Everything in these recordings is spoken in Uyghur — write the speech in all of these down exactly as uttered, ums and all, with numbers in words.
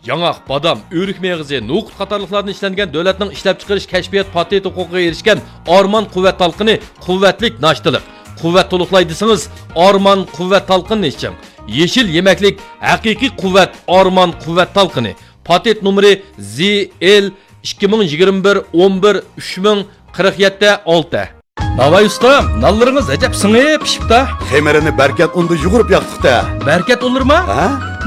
ياڭاق، بادام، ئۆرۈك مېغىزى، نوقۇت قاتارلىقلاردىن ئىشلەنگەن دۆلەتنىڭ ئىشلەپچىقىرىش كەشپىيات پاتېنت ھوقۇقىغا ئېرىشكەن ئارمان قۇۋۋەت تالقىنى، قۇۋۋەتلىك ناشتىلىق. قۇۋۋەت تولۇقلاي دېسىڭىز، ئارمان قۇۋۋەت تالقىنىنى ئىچىڭ. يېشىل يېمەكلىك، ھەقىقىي قۇۋۋەت، ئارمان قۇۋۋەت تالقىنى. پاتېنت نومۇرى زى ئېل ئىككى مىڭ يىگىرمە بىر ئون بىر ئۈچ مىڭ قىرىق يەتتە ئالتە. ناۋاي ئۇستام، نانلىرىڭىز ئەجەب سىڭىپ پىشىپتا. خېمىرىنى بەركەت ئۇندا يۇغۇرۇپ ياقتۇق-تە. بەركەت ئۇنلىرىما؟ ھە؟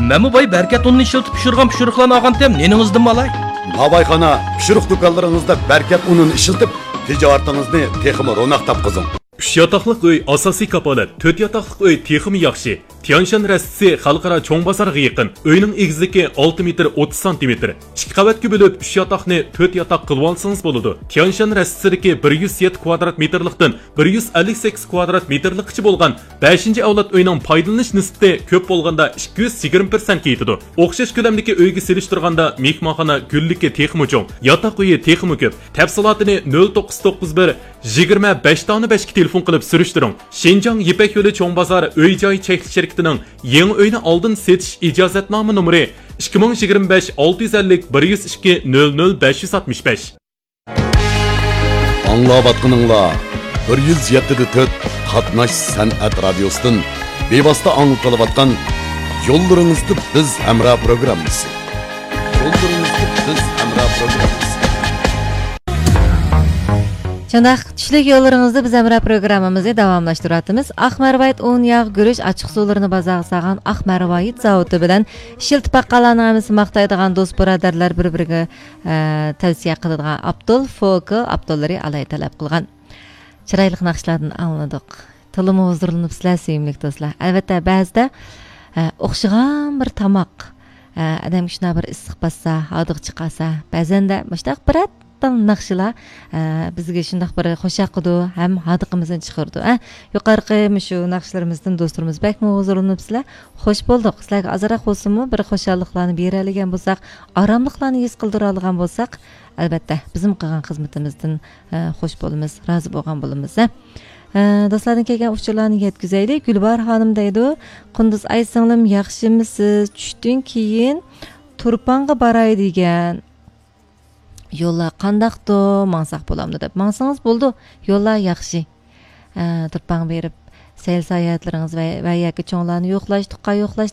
مەنمۇ باي بەركەت ئۇنىنى ئىشلىتىپ پىشۇرغان پىشۇرۇقلارنى ئالغانتىم، نېنىڭىزدىنمۇ ئالاي؟ ناۋاي خانا، پىشۇرۇق دۇكانلىرىڭىزدا بەركەت ئۇنىنى ئىشلىتىپ، تىجارىتىڭىزنى تېخىمۇ روناق تاپقۇزۇڭ. ئۈچ ياتاقلىق ئۆي ئاساسىي كاپالەت، تۆت ياتاقلىق ئۆي تېخىمۇ ياخشى. تيانشان رەستىسى خەلقئارا چوڭ بازارغا يېقىن. ئۆينىڭ ئېگىزلىكى ئالتە مېتىر ئوتتۇز سانتىمېتىر. ئىككى قەۋەتكە بۆلۈپ، ئۈچ ياتاقنى تۆت ياتاق قىلىۋالسىڭىز بولىدۇ. تيانشان رەستىسىدىكى بىر يۈز يەتتە كۋادرات مېتىرلىقتىن بىر يۈز ئەللىك سەككىز كۋادرات مېتىرلىققىچە بولغان بەشىنچى ئەۋلاد ئۆينىڭ پايدىلىنىش نىسبىتى كۆپ بولغاندا ئىككى يۈز يىگىرمە پىرسەنتكە يېتىدۇ. ئوخشاش كۆلەمدىكى ئۆيگە سېلىشتۇرغاندا مېھمانخانا گۈللۈكى تېخىمۇ چوڭ، ياتاق ئۆيى تېخىمۇ كۆپ. تەپسىلاتىنى نۆل توققۇز توققۇز بىر، يىگىرمە بەش دانە بەشكە تېلېفون قىلىپ سۈرۈشتۈرۈڭ. شىنجاڭ يىپەك يولى چوڭ بازار ئۆي جاي چەكلىك شىركىتىنىڭ يېڭى ئۆينى ئالدىن سېتىش ئىجازەتنامە نومۇرى ئىككى مىڭ يىگىرمە بەش ئالتە يۈز ئەللىك بىر يۈز ئىككى نۆل نۆل بەش يۈز ئاتمىش بەش. ئاڭلاۋاتقىنىڭلار بىر يۈز يەتتە دە تۆت قاتناش سەنئەت رادىيوسىدىن بىۋاسىتە ئاڭلىتىلىۋاتقان يوللىرىڭىزدا بىز ھەمراھ پروگراممىسى. يوللىرىڭىزدا بىز ھەمراھ پروگراممىسى. شۇنداق، چۈشلۈك يوللىرىڭىزدا بىز ھەمراھ پروگراممىمىزنى داۋاملاشتۇرۇۋاتىمىز. ئاق مەرۋايىت ئۇن، ياغ، گۈرۈچ، ئاچچىق سۇلىرىنى بازارغا سالغان ئاق مەرۋايىت زاۋۇتى بىلەن ئىشلىتىپ باققانلارنىڭ ھەممىسى ماختايدىغان دوست بۇرادەرلەر بىر-بىرىگە، ئە، تەۋسىيە قىلىدىغان ئابدۇل فوكل ئابدۇللىرى ئالاھىدە تەلەپ قىلغان. چىرايلىق ناخشىلاردىن ئاڭلىدۇق. تولىمۇ ھۇزۇرلىنىپسىلەر، سۆيۈملۈك دوستلار. ئەلۋەتتە، بەزىدە، ئە، ئوخشىغان بىر تاماق، ئە، ئادەمگە شۇنداق بىر ئىسسىق باسسا، ھاردۇق چىقارسا، بەزەندە مۇشۇنداق بىرەر تال ناخشىلار، ئە، بىزگە شۇنداق بىر خۇش ياقىدۇ ھەم ھاردۇقىمىزنى چىقىرىدۇ، ئە. يۇقىرىقى مۇشۇ ناخشىلىرىمىزدىن دوستلىرىمىز بەكمۇ ھۇزۇرلىنىپسىلەر. خوش بولدۇق. سىلەرگە ئازراق بولسىمۇ بىر خۇشاللىقلارنى بېرەلىگەن بولساق، ئاراملىقلارنى ھېس قىلدۇرالىغان بولساق، ئەلۋەتتە، بىزمۇ قىلغان خىزمىتىمىزدىن، ئە، خوش بولىمىز، رازى بولغان بولىمىز، ئە. ئە، دوستلاردىن كەلگەن ئۇچۇرلارنى يەتكۈزەيلى. گۈلباھار خانىم دەيدۇ، قۇندۇز ئاي سىڭلىم، ياخشىمىسىز؟ چۈشتىن كېيىن تۇرپانغا باراي دېگەن. يوللار قانداقتۇ؟ ماڭساق بولامدۇ دەپ. ماڭسىڭىز بولىدۇ. يوللار ياخشى. ئە، تۇرپانغا بېرىپ، سەيل ساياھەتلىرىڭىز ۋە، ۋە ياكى چوڭلارنى يوقلاش، تۇغقان يوقلاش